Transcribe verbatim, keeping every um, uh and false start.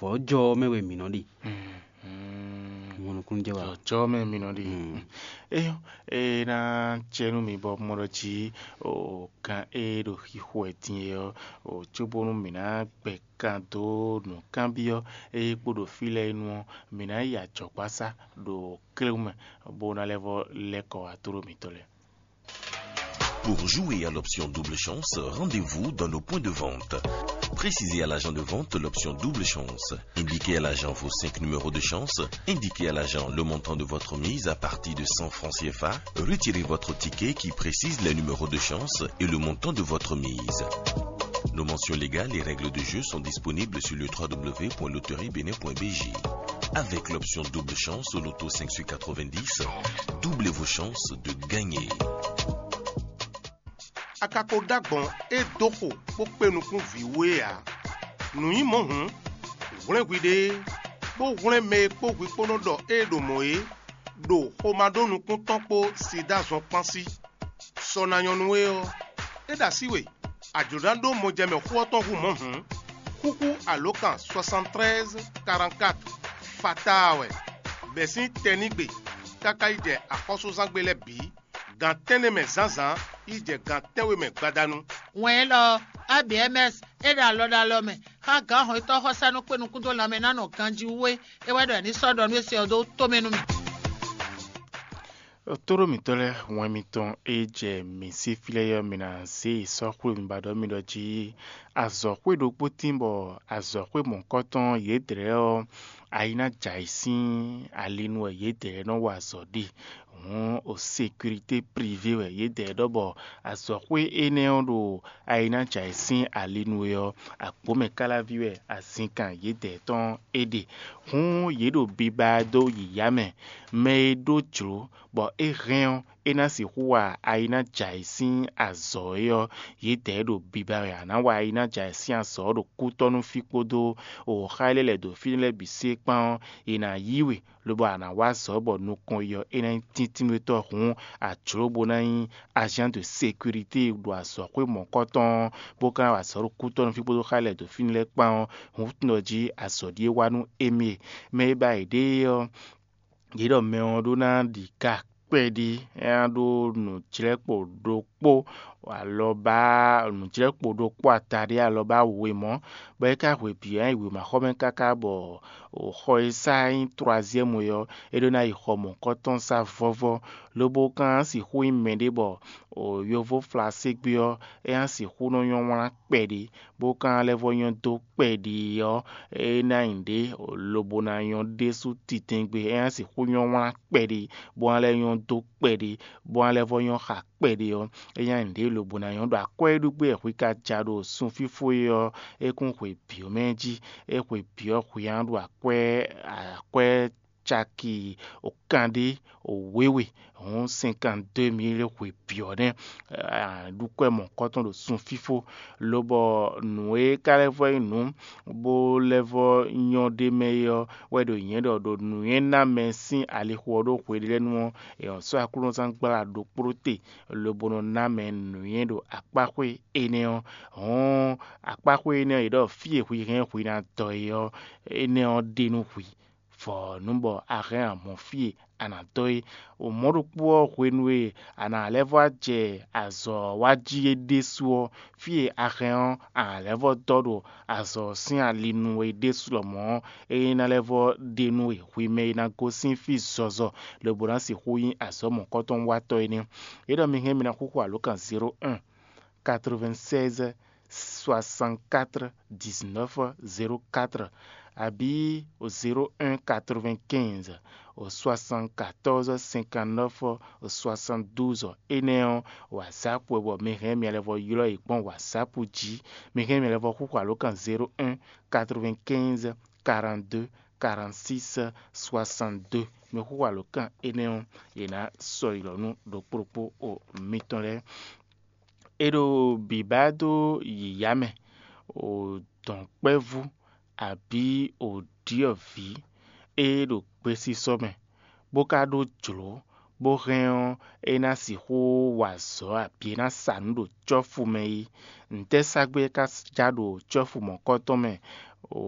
Bɔ jɔ ɔ́ mɛ wɛ mǐ nɔ ɖe. Mo nukúnnú jɛ wa. Jɔjɔ mɛ mi nɔ ɖi. Mm. Eyɔ, e ná cɛ nú mi bɔ mɔ ɖɔ jí o kan e ɖo xixo wɛ din é ɔ́, o cóbónú mǐ ná gbɛ kan dó nǔkanbyɔ́ e kpo ɖo fí lɛ́ɛ nu ɔ́, mǐ ná yi ajɔ̌gbásá ɖo kléwú mɛ, bó ná lɛ́ vɔ lɛ́ kɔ wá tló mǐtɔn lɛ́ɛ. Pour jouer à l'option double chance, rendez-vous dans nos points de vente. Précisez à l'agent de vente l'option double chance. Indiquez à l'agent vos cinq numéros de chance. Indiquez à l'agent le montant de votre mise à partir de cent francs C F A. Retirez votre ticket qui précise les numéros de chance et le montant de votre mise. Nos mentions légales et règles de jeu sont disponibles sur le trois W point loterie bénin point B J. Avec l'option double chance au loto cinq sur quatre-vingt-dix, doublez vos chances de gagner. A ka ko ɖó agbɔ̌n e dó xo bó kpé nukún vǐ we ǎ. Nǔ nyí mɔ̌ hǔn, hwlɛ́n hwiɖée, bó hwlɛ́n mɛ e kpó hwi kpó nɔ ɖɔ ée ɖo mɔ̌ é, ɖo xomá ɖó nukún tɔn kpó sida zɔn kpán sí. Sɔ ná nyɔ́ nú we ɔ́, é ɖo así we, a jlǒ ná ɖó mɔjɛmɛ xó ɔ́ tɔn hú mɔ̌ hǔn, xúxú alǒkan soixante-treize quarante-quatre fataa wɛ, bɛ̌ sín tɛnígbe káká yi jɛ axɔ́súzángbe lɛ́ɛ bǐ, gan tɛ́nnɛ mɛ zǎnzǎn yi jɛ gan tɛ́nwe mɛ gbadanu. Wɛn élɔ́ ɔ́, A B M S é ɖo alɔ ɖo alɔ mɛ xá gǎn hɔnnyitɔ́ xɔsánú kpé nukún dó lanmɛ ná nɔ ganjí wú é. É wɛ ɖɔ è ní sɔ́ ɖɔ nú é se ɔ́ dó tomɛ nú mì. Tóɖó mǐtɔn lɛ́ɛ, wɛn mitɔn e jɛ mǐ sí fí lɛ́ɛ ɔ́, mǐ ná zé yi sɔ́ xwé mi ba ɖɔ mi ɖɔ jí azɔ̌xwé ɖokpó tín bɔ azɔ̌xwé mɔ̌kɔtɔn yědɛɛ ɔ́, ayi ná jɛ ayǐ sín ali nu wɛ yědɛɛ nɔ wa azɔ̌ ɖe. Hǔn o sécurité privé wɛ yědɛɛ ɖɔ bɔ azɔ̌xwé énɛ́ ɔ́ ɖo ayi ná jɛ ayǐ sín ali nu é ɔ́, agbǒmɛ káláví wɛ azinkan yědɛɛ tɔn é ɖe. Hǔn yě ɖo biba dó yǐyá mɛ. Mɛ e ɖó jlǒ bɔ é hɛn ɔ́, é ná sixú wa ayi ná jɛ ayǐ sín azɔ̌ é ɔ́, yědɛɛ ɖo biba wɛ a nǎ wa ayi ná jɛ ayǐ sín azɔ̌ ɔ́ ɖo kútɔ́ nú fí kpódó xá e lɛ́ lɛ̌ dó fínɛ́ lɛ́ɛ bǐ sí é kpán ɔ́, è nǎ yí we, lobo a nǎ wa azɔ̌ bɔ nukɔn yi ɔ́, é ná nyí tíntínnúwetɔ́ hǔn a jlǒ bó ná nyí agent de sécurité ɖo azɔ̌xwé mɔ̌kɔtɔn ɔ́, bó ka ná wa azɔ̌ ɖo kútɔ́ nú fí kpódó xá e lɛ́ dó fínɛ́ lɛ́ɛ kpán ɔ́, hǔn nɔ jí azɔ̌ ɖíe wá nú émí e. Mɛ e ba yěɖée ɔ́, yě ɖɔ mɛ ɔ́ ɖó ná ɖi ka kpɛɖí, é ná ɖó nǔjlɛ́kpo ɖokpó alɔbá nǔjlɛ́kpo ɖokpó ataɖé alɔbá wěmɔ́, bɔ é ka hwe bǐ ɔ́, é nyí wěmaxɔmɛ káká bɔ xɔ e sá nyí troisième é ɔ́, é ɖó ná yi xɔ mɔ̌kɔtɔn sá vɔ́vɔ́, lobo ka ná sixú nyí mɛɖé bɔ yovó flaségbé ɔ́, é ná sixú nɔ nyɔ́ wlán kpɛɖí, bó ka ná lɛ́ vɔ́ nyɔ́ dó kpɛɖí ɔ́, é ná nyí ɖě lobo ná nyɔ́ ɖésú titɛngbé, é ná sixú nyɔ́ wlán kpɛɖí, bó ná lɛ́ nyɔ́ dó kpɛɖí, bó ná lɛ́ vɔ́ nyɔ́ xa kpɛɖé ɔ́, é nya nyǐɖée lobo ná nyɔ́ ɖo akwɛ́ e ɖu gbé wɛ hwi ka ja ɖo sunfífó é ɔ́, é kún hwe bǐ ɔ́ mɛ jí. É hwe bǐ ɔ́ hwi ná ɖo akwɛ́ akwɛ́ caki kanɖé wěwe hɔn cinquante-deux mille hwe bǐ ɔ́ nɛ́. Ɖu kwɛ́ mɔ̌kɔtɔn ɖo sunfífó, lobɔ nǔ e ka lɛ́ vɔ nyí nǔ bó lɛ́ vɔ nyɔ́ ɖ'é mɛ é ɔ́ wɛ ɖo nyɛ̌ ɖɔ ɖo nǔnywɛ́ ná mɛ sín alixo ɔ́ ɖó hweɖélɛ́nu ɔ́, è nɔ sɔ́ Aklúnɔzán gbla ɖokpó te, lobo nɔ ná mɛ nǔnywɛ́ ɖo akpáxwé énɛ́ ɔ́. Hɔ̌n akpáxwé énɛ́ ɔ́, è ɖɔ fí e hwi hɛn hwi ná dɔ é ɔ́, énɛ́ ɔ́ ɖe nú hwi, vɔ nǔ bɔ a hɛn a mɔ fí e a nǎ dɔ é. O mɔ̌ ɖokpó ɔ́, hwenu e a nǎ lɛ́ vɔ jɛ azɔ̌ wa jí é ɖésú ɔ́, fí e a hɛn ɔ́, a nǎ lɛ́ vɔ dɔ ɖo azɔ̌ sín ali nu é ɖésú lɔmɔ̌ ɔ́, é ná lɛ́ vɔ ɖe nú we hwi mɛ e ná gosín fí zɔzɔ, lobo ná sixú nyí azɔ̌ mɔ̌kɔtɔn watɔ́ é nɛ́. É ɖɔ mi hɛn mi ná xúxú alǒkan zéro un, quatre-vingt-seize, soixante-quatre, dix-neuf, zéro quatre, abǐ o zéro un, quatre-vingt-quinze, o soixante-quatorze, cinquante-neuf, o soixante-douze. Énɛ́ ɔ́, WhatsApp wɛ bɔ mi hɛn mi lɛ́ vɔ ylɔ́ yě gbɔn WhatsApp jí. Mi hɛn mi lɛ́ vɔ xúxú alǒkan zéro un, quatre-vingt-quinze, quarante-deux, quarante-six, soixante-deux. Mi xúxú alǒkan énɛ́ ɔ́, yě ná sɔ́ ylɔ̌ nú ɖokpó ɖokpó o mitɔn lɛ́ɛ. É ɖo bǐbá dó yǐyá mɛ, o dɔ̌nkpɛ́vú, abǐ o ɖyɔ̌vǐ e ɖo gbesisɔ mɛ, bó ka ɖó jlǒ, bó hɛn ɔ́, é ná sixú wa azɔ̌ abǐ é ná sa nǔ ɖo cɔ́fu mɛ é. Ntɛ́ sa gbé é ka já ɖo cɔ́fu mɔ̌kɔtɔn mɛ? O